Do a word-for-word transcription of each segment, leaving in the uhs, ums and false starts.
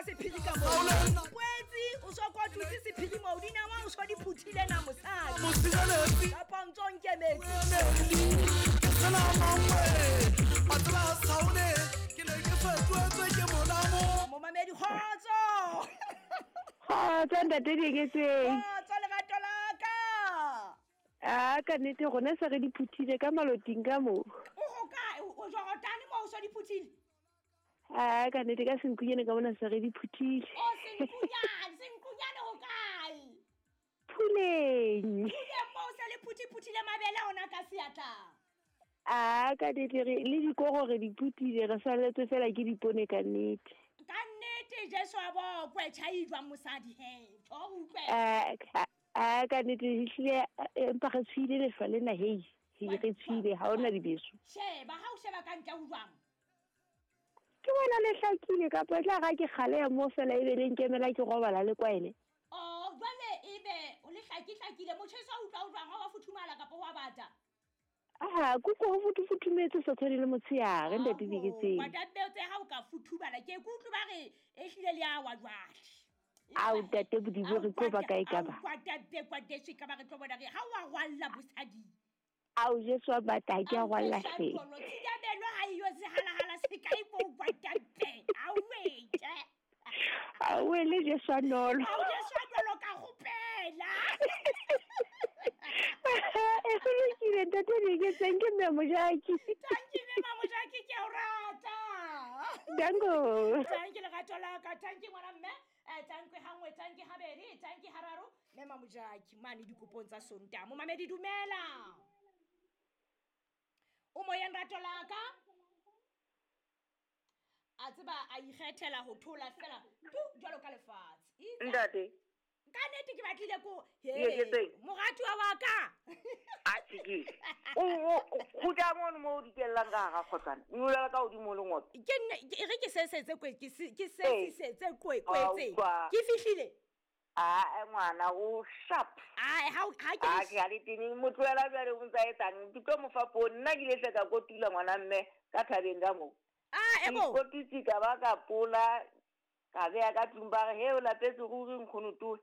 ka sephiri ka mo poetsi o so kotutse sephiri mo dinawa o so di phuthile na mosadi kapa ntso nkemetse momamedi kgotso kgotso ntate Dieketseng kgotso lerato la ka a ka nnete rona se re di phuthile ka maloting ka mo o ho kae o Jordan mo o so di phuthile a ka nnete ka senkunyane ka bona se re di phuthile o senkunyane senkunyane ho kae Phuleng Phuleng mo o se le phuthi phuthile mabele ona ka seatla a ka nnete re le dikoro re di phuthile re saletswe fela ke dipone ka nnete ka nnete Jesu a bokwe tjhai jwang mosadi he tjo utlwe a a ka nnete ehlile empa re tshwile lehlwa lena hei re tshwile ha hona dibeso sheba ha o sheba ka ntle ho jwang ke bona le hlakile kapa e tla ga ke kgale ya mo fela ebe le nkemela ke robala le kwaele oh jwale ebe o le hlaki hlakile motjheso o utlwa o jwang ha wa futhumala kapa wa bata ah kuko ho futhufuthumetse sa tshwane le motshehare ntate Dieketseng kwata tse ha o ka futhubala ke kutlwe ba re ehlile le a wa jwale ao ntate Modimo re tlo ba kae ka ba kwata be kwata se ka ba re tlo bona re ha wa rwalla bosadi ao Jesu a bata ke a rwalla hle tshiabelo ha iyo se halahala se kae bo kwata be a wetse a wele Jesu a nolo ao Jesu a nolo ka gopela e go lokile ntate Dieketseng ke mme Mojaki thank you mme Mojaki ke a o rata danko thank you lerato la ka thank you ngwana mme eh thank you hangwe thank you habedi thank you hararo mme Mojaki mane dikopong tsa Sontaha momamedi dumela o moyeng rato la ka a tseba a ikgethela ho thola fela tu jwalo ka lefatshe ntate ka nnete ke batlile ko he moratuwa wa ka a tshiki o kgutla mono mo o dikellang ka hara kgotsana nyolela ka hodimo le ngoto ke nne e re ke sesetse kwe ke ke sesetse kwe kwetse ke fihlile a ngwana o sharp ai ha ha ke a ke a le teng motlohela jwale o ntsa etsang ke tlo mo fa poone nna ke ile hle ka kotula ngwana mme ka thabeng ka moo ah ebo kotutse ka ba ka pola ka beya ka tlung ba re he o lapetse ruri nkgono toe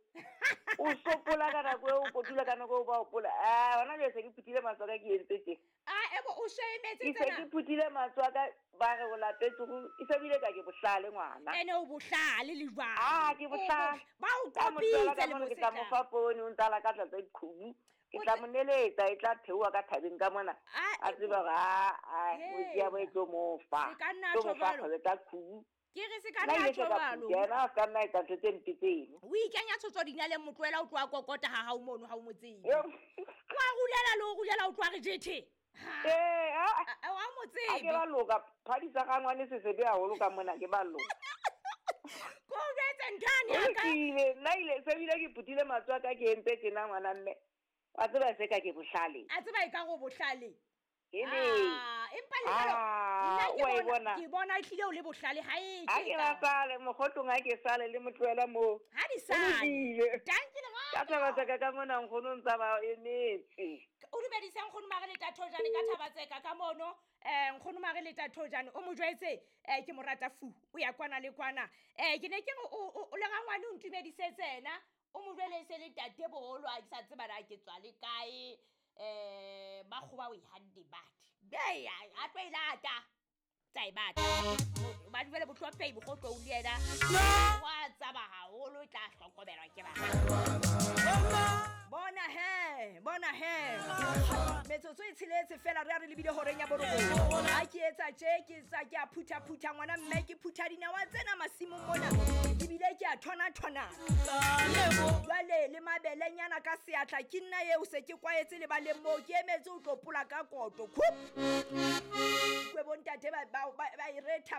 o sopola ka nako eo o kotula ka nako eo ba o pola a hona jwale se ke phuthile matsoho a ka ke entse tje ah ebo o shemetse tsena ke se ke phuthile matsoho a ka ba re o lapetse ruri e se bile ka ke bohlale ngwana ene o bohlale le jwang ah ke bohlale ba o qopitse le ke tla mo fa poone o ntala ka tlatsa diqhubu ke tla mo neletsa e tla theoha ka thabeng ka mona a tseba hore a a o ya bo e tlo mo fa se ka nna tjho jwalo tsa qhubu ke re se ka nna tjho jwalo yena a ka nna etsa ntho tse mpe tseno o ikenya tshotso dinaleng motlohela o tloha kokota ha hao mono ha o mo tsebe wa rulela le o rulela o tloha re jethe ee a wa mo tsebe a ke ba loka phadisa ga ngwane se sebe haholo ka mona ke ba loka ko jwetse nthane ya ka ile nna ile se bile ke phuthile matsoho a ka ke entse tjena ngwana mme wa tseba se ka ke bohlale a tseba e ka go bohlale Hele ah empa le jalo nna ke bona ke bona ehlile o le bohlale ha e ke ke ba sale mogotong ha ke sale le motlohela mo ha di sale thank you ka taba tsaka ka mona nkgono ntsa ba emetse o dumedisa nkgono mare le tathojane ka thaba tseka ka mono eh nkgono mare le tathojane o mo jwetse eh ke morata fu o ya kwana le kwana eh ke ne ke re o le rangwane o ntumedisetse yena o mo jwele se le tate boholo a ke sa tseba na ke tswa le kae eh ba kgoba o ihande batho be a tlo ilata tsa e batla ba dumele bohlophehi bokgotlo o le yena wa tsaba haholo tla hlokomelwa ke ba bona he bona he metsotso e tsheletse fela re a re lebile horeng ya borobong ha ke etsa tje ke sa ke a phutha phutha ngwana mme ke phutha dinawa tsena masimong mona ebile ke a thona thona jwale le mabelenyana ka seatla ke nna eo se ke kwaetse le baleng moo ke emetse o tlo pola ka koto khup kwe bontate ba ba e retha ba